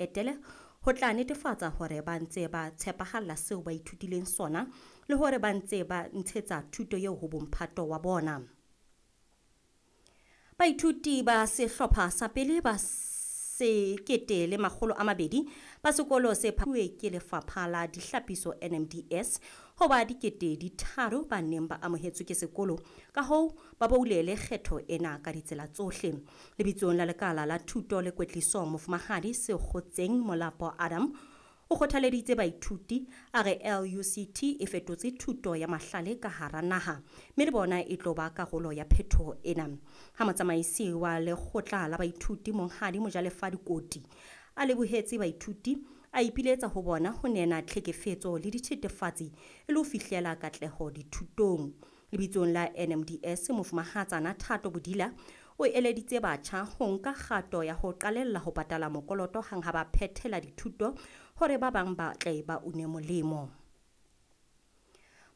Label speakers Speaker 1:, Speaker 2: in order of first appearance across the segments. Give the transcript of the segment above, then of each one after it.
Speaker 1: Etele ho tla netefatsa hore ba ntse ba tshepahalla seo ba ithutileng sona le hore ba ntse ba ntshetsa thuto eo ho bomphato wa bona. Baithuti ba sehlopha sa pele ba 1200 ba sekolo se phahameng ke lefapha la dihlapiso NMDS ho ba 3000 ba neng ba amohetswe ke sekolo, ka hoo ba boulele kgetho ena ka ditsela tsohle. Lebitsong la lekala la thuto le kwetliso, Mofumahadi Sekgotseng Molapo Adam o kgothaleditse baithuti, a re LUCT e fetotse thuto ya mahlale ka hara naha, mme le bona e tlo ba karolo ya phetoho ena. Ha motsamaisi wa lekgotla la baithuti Monghadi Mojalefa Dikoti a lebohetse baithuti, a ipiletsa ho bona ho nena tlhekefetso le dithethefatsi e le ho fihlela katleho dithutong. Lebitsong la NMDS, Mofumahatsana Thato Bodila o eleditse batjha ho nka kgato ya ho qalella ho patala mokoloto hang ha ba phethela dithuto hore ba bang ba tle ba une molemo.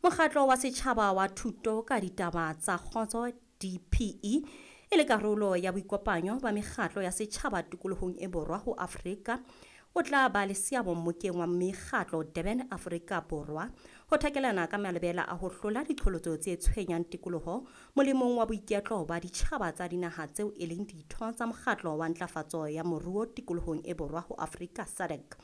Speaker 1: Mokgatlo wa setjhaba wa thuto ka ditaba tsa kgotso DPE e le karolo ya boikopanyo ba mekgatlo ya setjhaba tikolohong e borwa ho Afrika o tla ba le seabo mmokeng wa mekgatlo Durban, Afrika Borwa, ho thakelana ka malebela a ho hlola diqholotso tse tshwenyang tikoloho molemong wa boiketlo ba ditjhaba tsa dinaha tseo e leng ditho tsa mokgatlo wa ntlafatso ya moruo tikolohong e borwa ho Afrika SADC.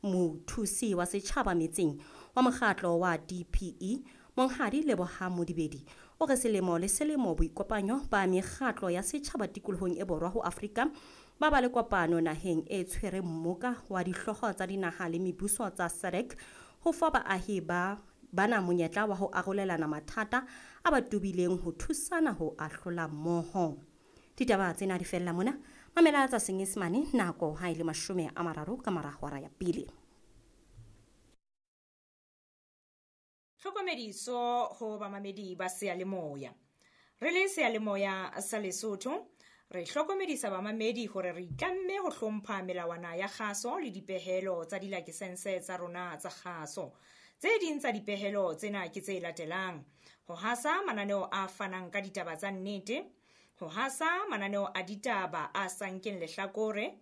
Speaker 1: Mothusi wa setjhaba metseng wa mokgatlo wa DPE Monghadi Leboha Modibedi o re selemo le selemo boikopanyo ba mekgatlo ya setjhaba tikolohong e borwa ho Afrika ba ba le kopano naheng e tshwereng mmoka wa dihlooho tsa dinaha le mebuso tsa SADC ho fa baahi ba bana monyetla wa ho arolelana mathata a ba tobileng ho thusana ho ahlola mmoho. Ditaba tsena di fella mona. Mamela tsa Senyesemane nako ha e le 30 ka mora hora ya pele.
Speaker 2: Tlhokomediso ho bamamedi ba seyalemoya. Re le seyalemoya sa Lesotho, re hlokomedisa bamamedi hore re itlamme ho hlompha melawana ya kgaso le dipehelo tsa dilakesense tsa rona tsa kgaso. Tse ding tsa dipehelo tsena ke tse latelang: ho hasa mananeo a fanang ka ditaba tsa nnete, ho hasa mananeo a ditaba a sa nkeng lehlakore,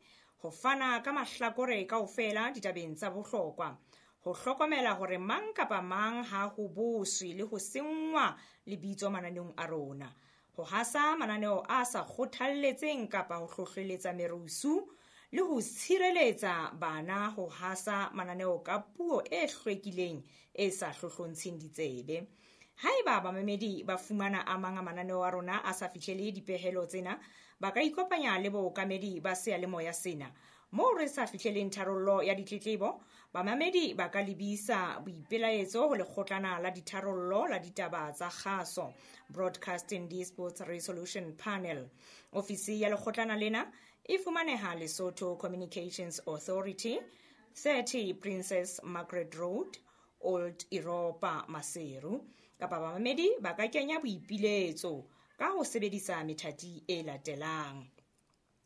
Speaker 2: ho fana ka mahlakore kaofela ditabeng tsa bohlokwa, ho hlokomela hore mang kapa mang ha ho boswe le ho senngwa lebitso mananeong a rona, ho hasa mananeo a sa kgothalletseng kapa ho hlohleletsa merusu, le ho tshireletsa bana ho hasa mananeo ka puo e hlwekileng e sa hlohlontsheng ditsebe. Haeba bamamedi ba fumana a mang a mananeo a rona a sa fihlele dipehelo tsena, ba ka ikopanya le bookamedi ba seyalemoya sena. Moo re sa fihleleng tharollo ya ditletlebo, bamamedi ba ka lebisa boipelaetso ho lekgotlana la ditharollo la ditaba tsa kgaso, Broadcasting Disputes Resolution Panel. Ofisi ya lekgotlana lena e fumaneha Lesotho Communications Authority, 30 Princess Margaret Road, Old Europa, Maseru. Kapa bamamedi ba ka kenya boipiletso ka ho sebedisa methati e latelang: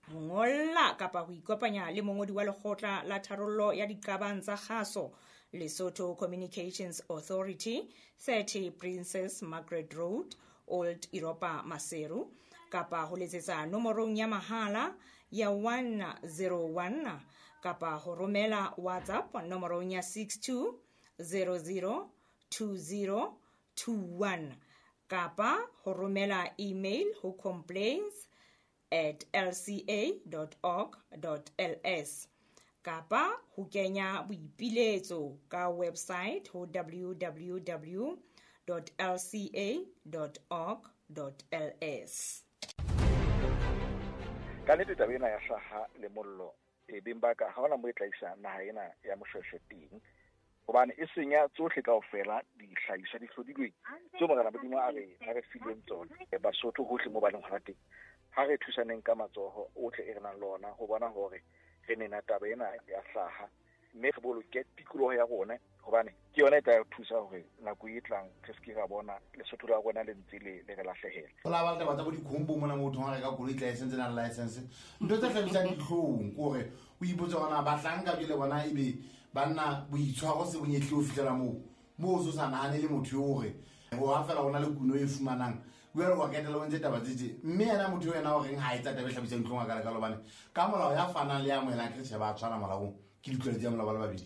Speaker 2: ho ngolla kapa ho ikopanya le mongodi wa lekgotla la tharollo ya diqabang tsa kgaso, Lesotho Communications Authority, 30 Princess Margaret Road, Old Europa, Maseru, kapa ho letsetsa nomorong ya mahala ya 101 kapa ho romela WhatsApp nomorong ya 62 00 20 21 kapa ho romela email ho complaints@lca.org.ls kapa ho kenya boipiletso ka website ho www.lca.org.ls.
Speaker 3: Ka nnete taba ena ya hlaha le mollo e beng ba ka ha hona mo e tla isa naha ena ya Moshweshwe teng, hobane e senya tsohle kaofela dihlahiswa di hlodilweng tseo Morena Modimo a re fileng tsona. Basotho hohle mo ba leng hona teng, ha re thusaneng ka matsoho ohle e re nang le ona ho bona hore re nena taba ena ya hlaha, mme re boloke tikoloho ya rona, hobane ke yona e tla re thusa hore nako e tlang re se ke ra bona Lesotho la rona le ntse le re lahlehela.
Speaker 4: Ho la ba taba tsa bo dikhombo mona motho ha reka koloi license na license, ntho tse hlabisang dihlong ke hore o ipotse hore na bahlanka jwale bona ebe banna boitshwaro se bonyehle ho fihlela moo moo o so sa nahane le motho eo hore ho ha fela ho na le kuno e fumanang Jwale wa ketela o ntse taba tse tje, mme yena motho ena o reng ha etsa taba e hlabisang dihlong a kalekalo, hobane ka molao ya fanang le ya amohelang ke re tjhe ba tshwana molaong, ke ditlolo tsa molao ba le babedi.